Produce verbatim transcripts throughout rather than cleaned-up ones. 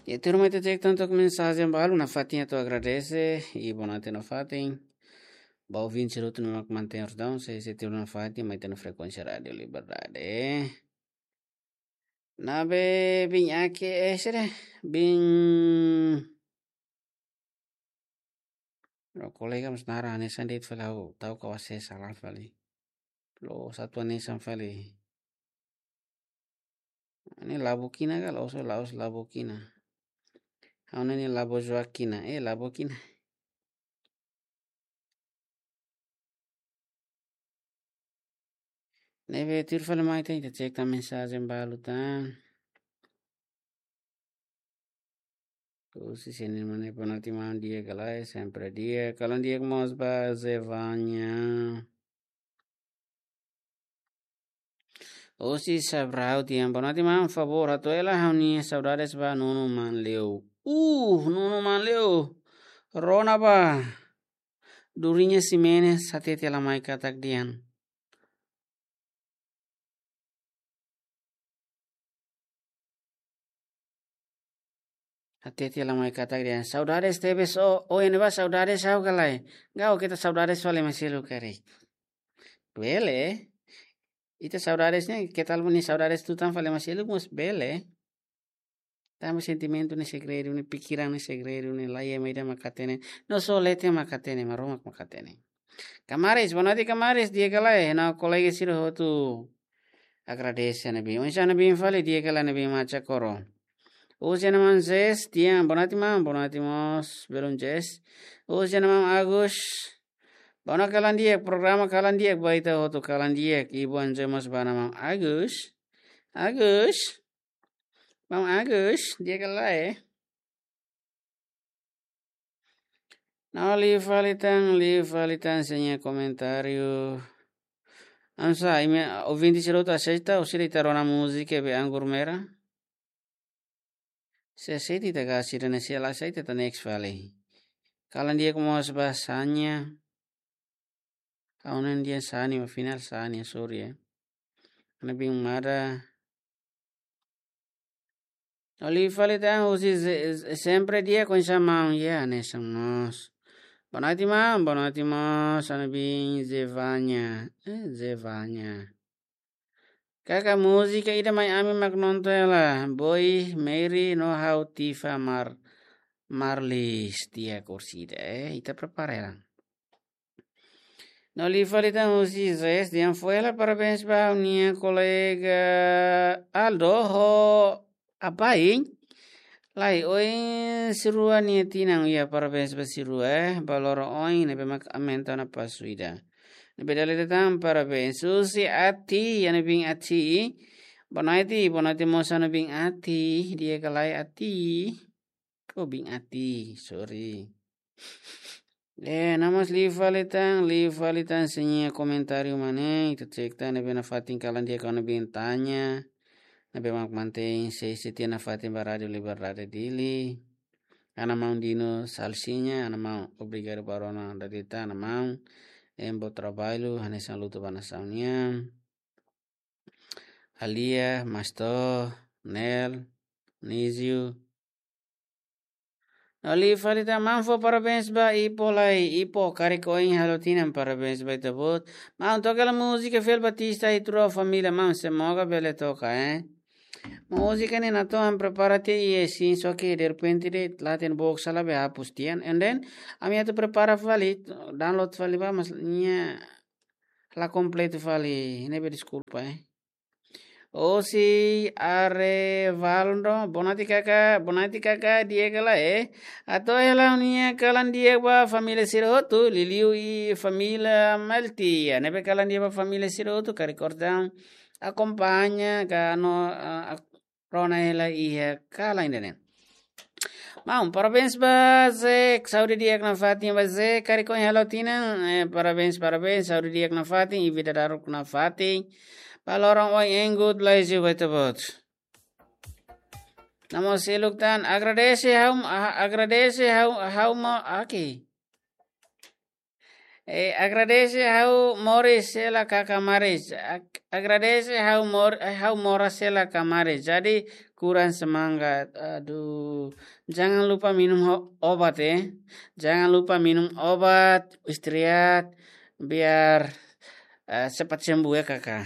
Ya, tuirmai ita cek tan to'ok mensajen balu nafatin atu agradese, i bonatin nafatin. Ba ouvinte sira hotu ne'ebé mak mantein rotaun, sei sei tuir nafatin, mai ita-nia frekuénsia Rádiu Liberdade. Ne'ebé bin ake, eh, sira, bin. Ro kolega mós naran hanesan de'it fali ha'u, ta'uk ha'u asesu sala fali. Loos atu hanesan fali. Ne'e Labukina ka, la'ós, la'ós Labukina. Ha'u-nia ne'e Labo Joaquina, eh, Labukina. Ne'ebé tuir fali mai ita, ita cek tan mensajen balu tan. Husi Seni Mane, bonatin maun, di'ak ka lae? Sempre di'ak. Kalan di'ak mós ba Zevanya. Husi Sabrau tiha, bonatin maun, favór hato'o hela ha'u-nia saudades ba Nuno Manleu. Uh, Nuno Manleu. Rona ba. Durinha Ximenes, hatete la mai katak dehan. Hatete la mai katak dehan. Saudades tebes, o, o, iha ne'ebá saudades ha'u ka lae? Gau, keta saudades fali ema seluk karik. Bele. Ita saudades ne'e, keta nia saudades tutan fali ema seluk mós bele. Tanba sentimentu ne'e segredu, ne'e pikiran ne'e segredu, ne'e laiha ema ida mak hatene. No só leten mak hatene, Maromak mak hatene. Kamaris, bonatin Kamaris, di'ak ka lae? Ha'u-nia kolega sira hotu. Agradese ne'ebé. Oinsá ne'ebé fali, di'ak ka lae ne'ebé Macha Koro? Husi Ana Manzes, tiha, bonatin maun, bonatin mós, belun Jess. Husi Ana Maun Agus. Bonatin kalan di'ak, programa kalan di'ak, ba ita hotu kalan di'ak, i boa noite mós ba Ana Maun Agus. Agus. Maun Agus, di'ak ka lae? No liu fali tan, liu fali tan sira-nia komentáriu. Ansa, imi ouvinte sira hotu aseita, ou sira ita rona múzika be Anggur Merah? Se aseita ita gás sira, ne'e se la aseita ita next fali. Kalan di'ak mós ba Sanya. Ha'u-nia dehan Sani, ba final Sani, sorry ya. Ana bin Mada. No liu fali tan husi ze-, ze-, sempre di'ak, oinsá maun, ya, hanesan mós. Bonatin maun, bonatin mós, Ana bin Zevanya. Eh, Zevanya. Kaka múzika ida mai ami mak nonton hela. Boy, Mary, no ha'u Tifa Mar-, Marlis, tiha kursida. Eh, ita prepara hela. No liu fali tan husi Zes, dehan fó hela parabéns ba ha'u-nia kolega Aldo ho apai. Lae, oin sirua nia tinan, ya, parabéns ba sirua, eh, ba loron oin ne'ebé mak aumenta ona pasu ida. Ne'ebé dala ida tan parabéns. Husi Ati, Ana bin Ati. Bonatin, bonatin mós Ana bin Ati, di'ak ka lae Ati? Ko bin Ati, sorry. Eh, no mós liu fali tan, liu fali tan sira-nia komentáriu mak ne'e, ita cek tan ne'ebé nafatin kalan di'ak Ana bin Tanya. Ne'ebé mak mantein sei setia nafatin ba Rádiu Liberdade Dili. Ana Maun Dino Salsiña, Ana Maun obrigadu ba rona dada ita, Ana Maun. Em bom trabalho, hanesan luta ba nasaun nian. Alia, Masto, Nel, Nizio. No liu fali tan maun fó parabéns ba Ipo lai, Ipo karik oin halo tinan, parabéns ba ita-boot. Maun toka hela múzika Fel Batista i Trua Família, maun, semoga bele toka, eh. Múzika ne'e natoon prepara tiha iha sin, só ke derrepente de'it la hatene book sala be hapus tiha. And then, ami atu prepara fali, download fali ba, mas nia la kompletu fali, ne'ebé deskulpa, eh. Husi Arevaldo, bonatin kaka, bonatin kaka, di'ak ka lae? Hato'o hela ha'u-nia kalan di'ak ba família sira hotu, liuliu i família Melti. Ya, ne'ebé kalan di'ak ba família sira hotu, karik orsida akompaña ka no, ah, ak-, rona hela iha kalan ida-ne'e. Maun, parabéns ba Zek, saúde di'ak nafatin ba Zek, karik oin halo tinan, eh, parabéns, parabéns, saúde di'ak nafatin, i vida daruak nafatin. Ba loron oin, and God bless you, ba ita-boot. No mós seluk tan, agradese ha'u, a-, agradese ha'u, ha'u mós, oke. Eh, agradese ha'u moris hela ka kamaris. Ag-, agradese ha'u mor-, ha'u moras hela kamaris. Jadi kurang semangat. Aduh. Jangan lupa minum ho-, obat, eh. Jangan lupa minum obat, istirahat, biar, eh, cepat sembuh ya, Kakak.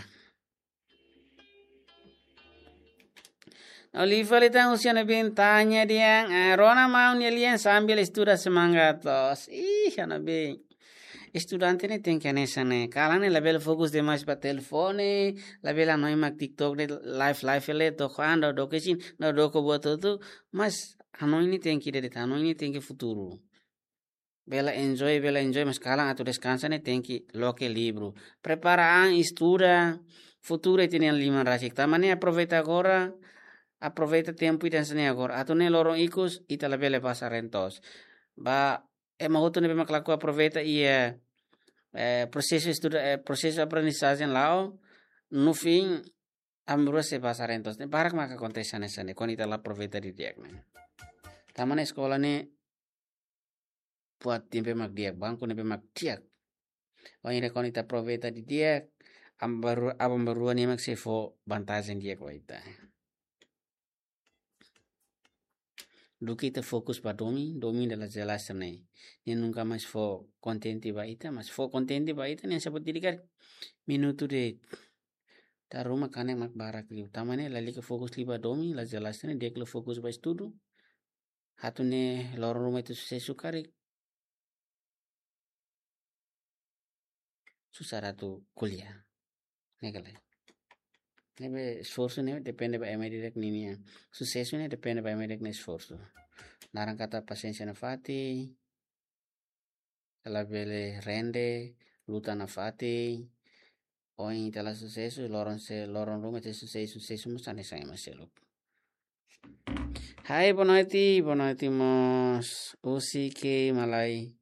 No liu fali tan husi ha'u-nia biin tanya dehan, eh, rona maun nia lian sambil estuda semangat loos. Ih, ha'u-nia biin. Estudante ne'e tenke hanesan ne'e. Kalan ne'e labele fokus demais ba telefone, labele hanoin mak TikTok de'it live live hela, to'o kuandu doke sin, no doko buat hotu, mas hanoin ne'e tenke de'it, hanoin ne'e tenke futuru. Bele enjoy, bele enjoy, mas kalan atu deskansa ne'e tenke loke livru. Prepara an, estuda, futuru ita-nia liman rasik. Tanba ne'e aproveita agora, aproveita tempu ida hanesan ne'e agora. Atu nune'e loron ikus, ita labele basa rentos. Ba, ema hotu ne'ebé mak lakohi aproveita iha, eh, prosesu estuda, eh, prosesu aprendizajen la'o, no fim, aban-bainrua sei basa rentos. Ne'e barak maka akontese hanesan ne'e, kuandu ita la aproveita didi'ak ne'e. Tanba ne'e eskola ne'e buat ne'ebé mak di'ak, banku ne'ebé mak di'ak. Wainhira kuandu ita aproveita didi'ak, aban-bainru-, aban-bainrua ne'e mak sei fó vantajen di'ak ba ita. Duké ita fokus ba domin, domin ida la jelas ne'e. Nia nunka mais fó kontente ba ita, mas fó kontente ba ita ne'e saida de'it karik. Minutu de'it. Dala ruma kanek mak barak liu. Tanba ne'e lalika fokus liu ba domin, la jelas ne'e, di'ak liu fokus ba estudu. Atu nune'e loron ruma ita susesu karik, susar atu ko'alia. Ne'e ka lae. Ne'ebé esforsu ne'e depende ba ema ida-idak ninia. Susesu ne'e depende ba ema ida-idak nia esforsu. Naran katak pasiénsia nafatin, labele rende, luta nafatin. Ohin ita la susesu, loron se, loron ruma ita susesu, susesu mós hanesan ema seluk. Hai, boa noite, boa noite mós. Husi ke, Malai?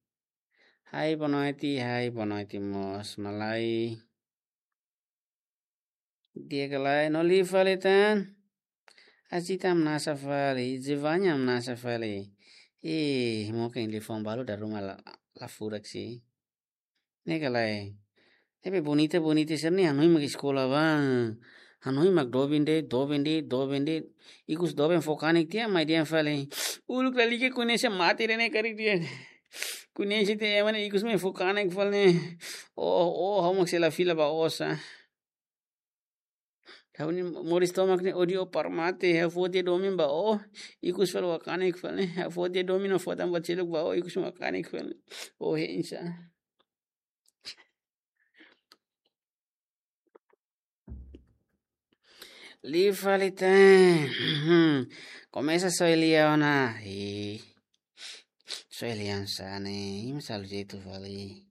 Hai, boa noite, hai, boa noite mós, Malai. Di'ak ka lae, no liu fali tan. Asita hamnasa fali, Zivanya hamnasa fali. Ih, mungkin telefone balu dala ruma la, la furak sih. Ne'e ka lae. Tapi bonita, bonita sira-ne'e hanoin mak eskola ba. Hanoin mak doben de'it, doben de'it, doben de'it. Ikus doben fó kanek tiha, mai dehan fali. Uluk lalika koñese mate ida-ne'e karik dehan. Koñese tiha ema ne'e ikus mai fó kanek fali ne'e. Oh, oh, ha'u mak sei la fila ba osan. Ha'u-nia moris tomak ne'e ódiu para mate, ha'u fó tiha domin ba ó, ikus fali fó kanek fali ne'e, ha'u fó tiha domin no fó tan buat seluk ba ó, ikus fó kanek fali ne'e. Oh, hein sá. Liu fali tan. Komesa soe lia ona. Ih. Soe lia hanesan ne'e, ih, masalah jeitu fali.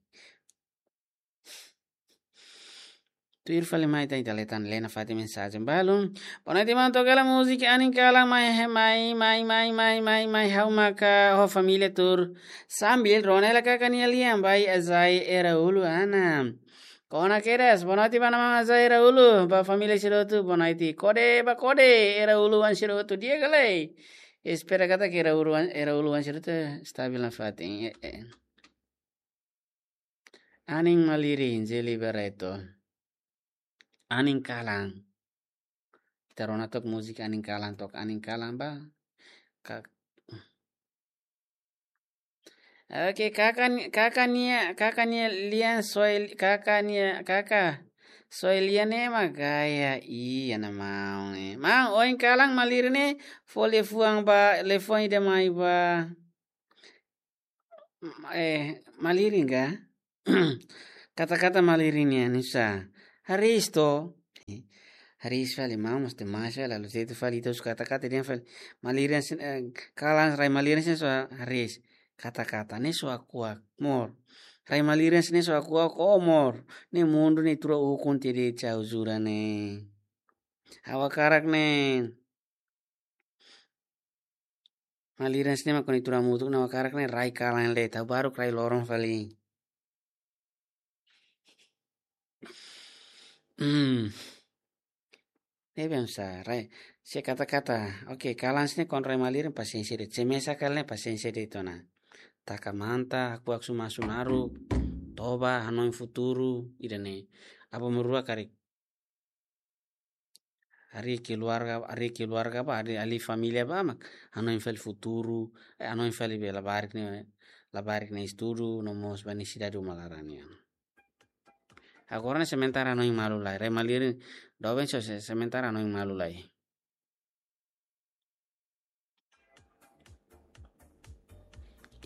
Tuir fali mai tan, ita lee tan, lee nafatin mensajen balu. Boa noite, maun, toka hela múzika Anin Kalan mai, mai, mai, ha'u maka ho família tuur. Sambil rona hela kakan nia lian, Bai Azai Eraulu Ana. Kona kedas, boa noite ba maun Azai Eraulu, ba família sira hotu, boa noite. Kode, ba kode, Eraulu Ana sira hotu, di'ak ka lae? Espera katak Eraulu Ana, Eraulu Ana sira hotu stabil nafatin. Eh, eh. Anin malirin, Jeli Barreto. Anin kalan. Ita rona took múzika Anin Kalan, took Anin Kalan ba. Ka-, oke, kakan, kakan nia, kakan nia lian soe, kakan nia, kaka. Soe lian ne'e mak gaya, iya na maun, eh. Maun, ohin kalan malirin ne'e, fó liafuan ba, liafuan ida mai ba. Eh, malirin ka? Kata-kata malirin nian, nusa. Hariis to. Eh, hariis fali maun, mas demais fali, lalu situ fali ita husu kata-kata dehan fali. Malirin sin, eh, kalan rai malirin sin so hariis. Kata-kata, ne'e so akuak, mor. Rai malirin sin ne'e so akuak, oh, mor. Ne'e mundu ne'e tuur ukun tede cau jura ne'e. Ha'u hakarak ne'e. Malirin sin ne'e mak koni tuur hamutuk, ha'u hakarak ne'e rai kalan de'it, ha'u baruk rai loron fali. Hmm. Ne'ebé hanesan rai. Se kata-kata. Oke, kalan sin ne'e kuandu rai malirin pasiénsia de'it. Se mesak kalan ne'e pasiénsia de'it ona. Taka manta, aku aksu masu naru. Toba, hanoin futuru, ida-ne'e. Aban-bainrua karik. Harii keluarga, harii keluarga ba, harii alin família ba, mak hanoin fali futuru, eh, hanoin fali be labarik ne'e, labarik ne'e estudu, no mós ba nesesidade uma laran nian. Agora ne'e sementara hanoin malu lai, rai malirin, doben so se-, sementara hanoin malu lai.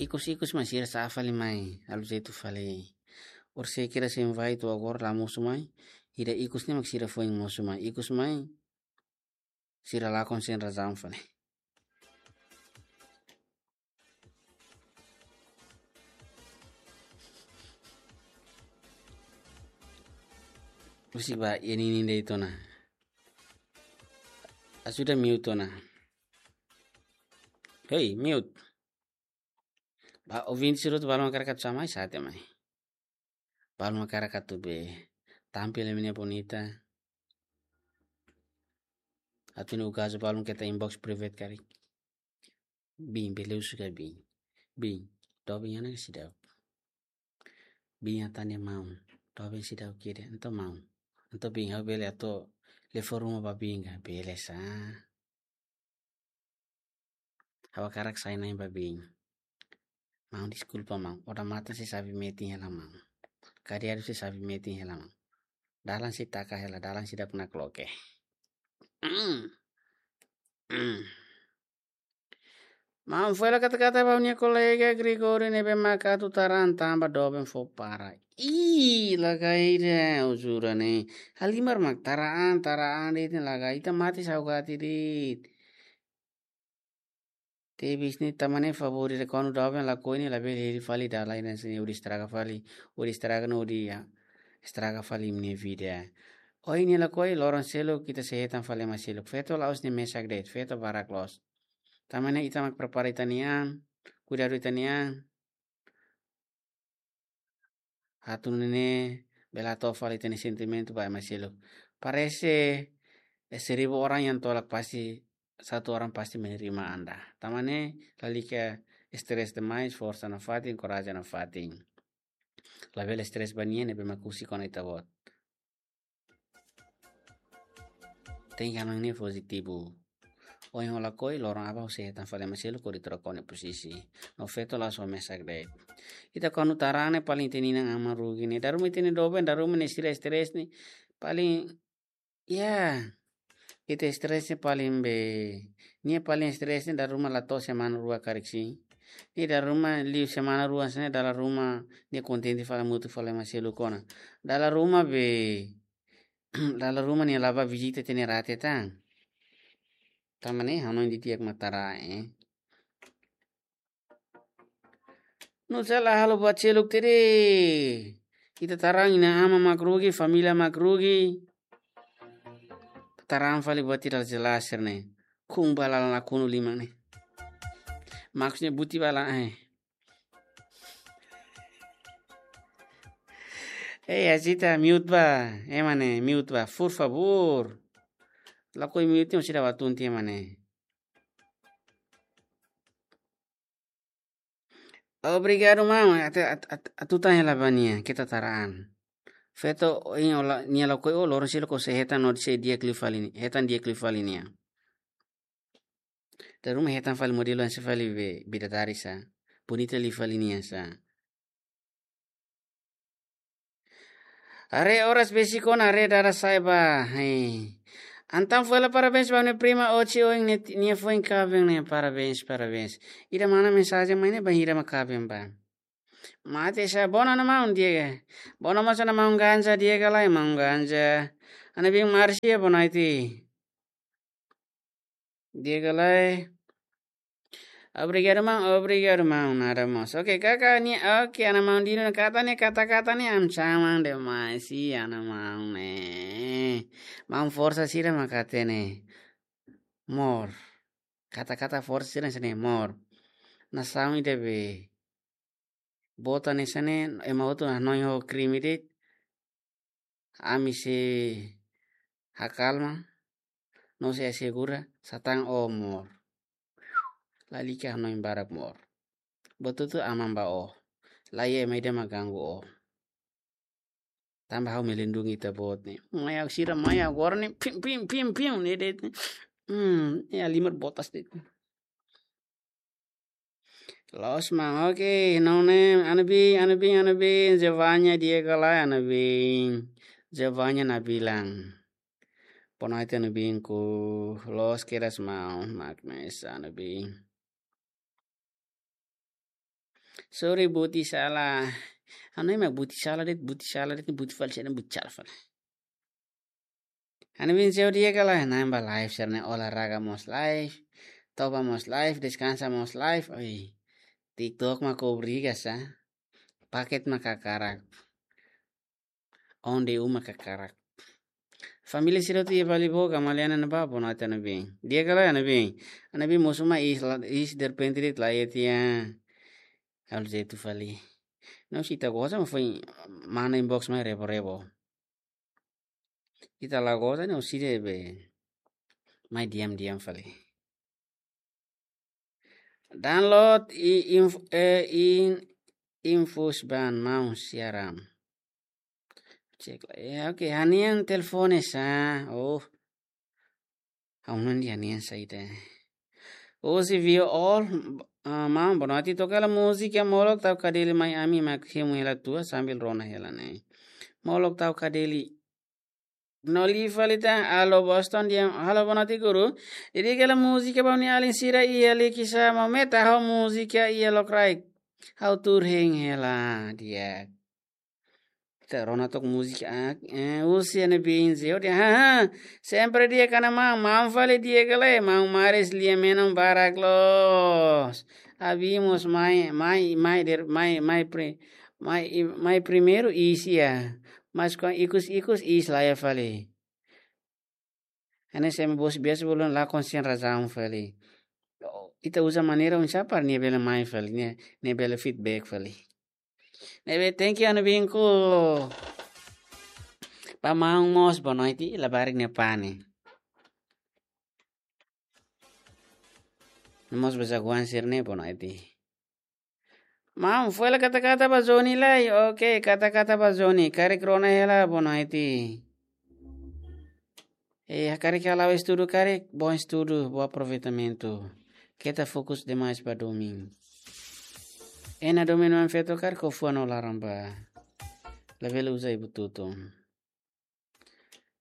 Ikus-ikus mai sira sa'e fali mai, halo jeitu fali. Orsida sira sei invite agora la mosu mai, ida ikus ne'e mak sira foin mosu mai, ikus mai, sira lakon sein razaun fali. Husik ba, iha ninin de'it ona. Ajuda mute ona. Hei, mute. Ba, ouvinte sira hotu balu mak hakarak atu sa'e mai, sa'e tiha mai. Balu mak hakarak atu be tampil imi-nia bonita. Atu nu'u gazo balu mak keta inbox private karik. Bin, bele husu ka bin. Bin, doben iha ona ka seidauk? Bin hatán nia maun. Doben seidauk kede, entaun maun. Entaun bin, ha'u bele atu lori fó ruma ba bin ka? Bele sá. Ha'u hakarak sai-na'in ba bin. Maun, deskulpa maun. Odamatan sei xave metin hela maun. Kadiadu sei xave metin hela maun. Dalan sei taka hela, dalan seidauk nakloke. Maun, fó hela kata-kata ba ha'u-nia kolega Gregorio ne'ebé mak atu tara an tanba doben fó para. Ih, lagai ida, ujura ne'e. Halimar mak tara an, tara an de'it ne'e lagai. Ita mate saugati de'it. Tebes ne'e, tanba ne'e favór ida, kuandu doben lakohi ne'e labele hili fali dalan ida hanesan ne'e, hodi estraga fali, hodi estraga no hodi, ah, estraga fali imi-nia vida. Ohin nia lakohi, loron seluk ita sei hetan fali ema seluk. Feto la'ós nia mesak de'it, feto barak loos. Tanba ne'e ita mak prepara ita-nia an, kuidadu ita-nia an. Atu nune'e bele hato'o fali ita-nia sentimentu ba ema seluk. Parese, eh, seribu orang yang tolak, pasti satu orang pasti menerima Anda. Tanba ne'e lalika stres demais, forsa nafatin, korajen nafatin. Labele stres ba nia ne'ebé mak husik ona ita-boot. Tenke hanoin ne'e pozitivu. Ohin ha'u lakohi, loron aban ha'u sei hetan fali ema seluk hodi troka ha'u-nia pozisi. No feto la'ós mesak de'it. Ita kuandu tara an ne'e paling ita-nia inan-aman rugi ne'e. Dala ruma ita-nia doben, dala ruma nia sira stres ne'e. Paling, ya, ita stres ne'e paling be. Nia paling stres ne'e dala ruma la to'o semana rua karik sin. Nia dala ruma liu semana rua hanesan ne'e, dala ruma nia kontente fali hamutuk fali ema seluk ona. Dala ruma be. Dala ruma nia la bá vizita ita-nia rate tan. Tanba ne'e hanoin didi'ak mak tara an, eh. Nusá la halo buat seluk tede. Ita tara an, inan-aman mak rugi, família mak rugi. Tara an fali buat ida la jelas sira-ne'e. Kun ba lalan nakonu liman ne'e. Maksudnya buti ba lalan, eh. Eh, Azita, mute ba. Ema ne'e, mute ba, por favor. Lakohi mute, orsida ba tun tiha ema ne'e. Obrigadu, maun. Atu, atu, atu, atu tanya la ba nia, keta tara an. Feto, ohin ó la, nia lakohi ó, loron seluk ó sei hetan no sei di'ak liu fali ni-, hetan di'ak liu fali nia. Dala ruma hetan fali modelu hanesan fali be, bidadari sá. Bonita liu fali nia sá. Haree oras besik ona, haree dada sa'e ba. Hei. Entaun fó hela parabéns ba ha'u-nia prima Oci ohin nia, nia foin kaben ne'e, parabéns, parabéns. Ida mana mensajen mai ne'e, bainhira mak kaben ba? Mate sá, bona ona maun Diego. Bona mós ona maun Ganja, Diego lai maun Ganja. Ana bin Marcia, bona iti. Diego lai. Obrigadu maun, obrigadu maun, nada mós. Oke, kaka nia, oke, ana maun Dino ne'e katak nia, kata-kata nia, am chamam demais, i ana maun ne'e. Maun forsa sira mak hatene. Mor. Kata-kata forsa sira hanesan ne'e, mor. Nasaun ida be. Boot hanesan ne'e, ema hotu hanoin ho krime de'it. Ami sei hakalma, no sei asegura, satán ó mor. Lalika hanoin barak mor. Buat hotu aman ba ó. Laiha ema ida mak ganggu ó. Tanba ha'u melindungi ita-boot ne'e. Mai ha'u sira mai agora ne'e pim, pim, pim, pim, ne'e de'it ne'e. Hmm, ya lima botas de'it. Loos maun, oke, no nem, Anabin, Anabin, Anabin, Giovanna, Diego lai, Anabin. Giovanna Nabilan. Boa noite, Anabinku. Loos kedas maun, mak mes, Anabin. Sorry, buti sala. Anu ema buti sala de'it, buti sala de'it, buti fali, sira buti sala fali. Anabin seu dia kala, namba live, sira-ne'e olahraga mós live, toba mós live, deskansa mós live, oi. TikTok mak obriga sa. Paket mak hakarak. Onde uma hakarak. Família sira tu iha Bali boka, Maliana na ba, boa noite, Anabin. Dia kala, Anabin. Anabin mosu mai is la, is derpente de'it la ia tia. Halo jeitu fali. No si ita goza mak foin mana inbox mai rebo-rebo. Ita la goza no si debe. Mai diam-diam fali. Download i inf-, eh, in, infus ban mau siaram. Cek la. Ya, oke, ha'u-nia telefone sa. Oh. Ha'u-nia ha'u-nia saida. Hoje vio all, ah, maun, boa noite. Toka hela múzika molok tau kadeli mai ami mak hemu hela tua sambil rona hela ne'e. Molok tau kadeli. No liu fali tan, alô Boston dehan, halo boa noite guru. Dedika hela múzika ba ha'u-nia alin sira iha Likisá, maun, meta ha'u múzika iha lokraik. Ha'u tuur hein hela, di'ak. Ita rona took múzika, ah, eh, husi Anabin seu dehan, ha, ha. Sempre di'ak, Anabin, maun fali di'ak ka lae, maun Maris lia menon barak loos. Abimos mai, mai, mai der, mai, mai pri-, mai, mai primeiru iis iha. Mas kuandu ikus-ikus iis la iha fali. Hanesan ema bos biasa bolu la konsen razaun fali. Ita uza maneira oinsá para nia bele mai fali, nia, nia bele feedback fali. Ne'ebé, thank you, Anabinku. Ba maun mós, boa noite, labarik ne'e pane. Mós ba zaguan sira-ne'e, boa noite. Maun, foin hela kata-kata ba Johnny lai. Oke, kata-kata ba Johnny. Karik rona hela, boa noite. Eh, karik halo estudu, karik, bom estudu, bom aproveitamento. Keta fokus demais ba domin. Ena domin mak feto karik ho fuan no laran ba. Labele uza ibu tutun.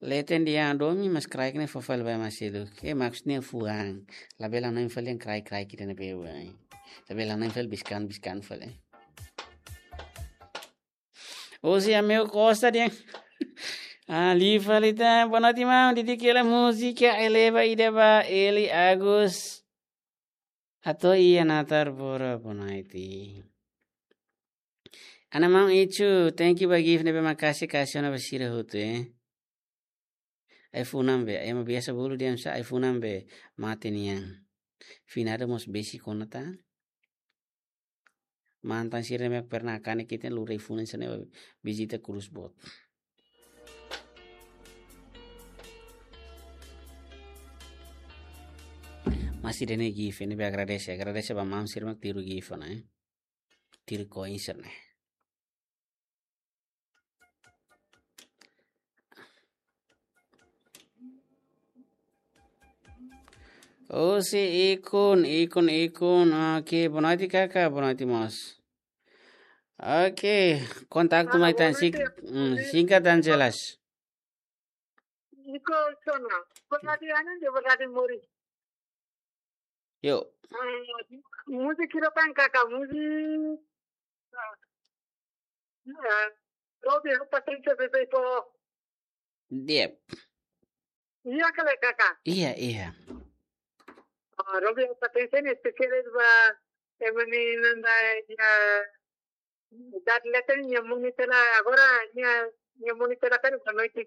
Leten dehan domin mas kraik ne'e fó fali ba ema seluk. Eh, maksudnya fuan. Labele hanoin fali dehan kraik-kraik ida-ne'ebé. Labele hanoin fali biskan-biskan fali. Hoje amigo Costa dehan. Ah, liu fali tan, boa noite, maun. Dedika hela múzika eleva ida ba Eli Agus. Atu iha natar bora, boa noite. Ana maun Ichu, thank you ba gift ne'ebé maka'as, ka'as ona ba sira hotu, eh. Ai-funan be, ema biasa bolu dehan sa ai-funan be mate nian. Finada mós besik ona tan. Mantan sira ne'ebé pernah kanek ita lori ai-funan sira-ne'e vizita Cruz Boat. Mas ida-ne'e gift, ne'ebé agradese, agradese ba maun sira mak tiru gift ona, eh. Tiru koin sira-ne'e. Oh, si Ikun, Ikun, Ikun. Oke, boa noite, kaka, boa noite mós. Oke, kontaktu mai tan sing-, hmm, singkat dan jelas. Iko sona, boa noite, anu, boa noite, Mori. Yo. Ah, múzika hira tan kaka, múzika. Ah, ah, Robi, Robi Patricia bebé po. Di'ak. Iya kale kaka. Iya, iya. Ah, Robi Patricia ne'e spesiál ba ema ne'ebé nanda ya. Dad leten nia moni tela agora nia, nia moni tela kan ba noite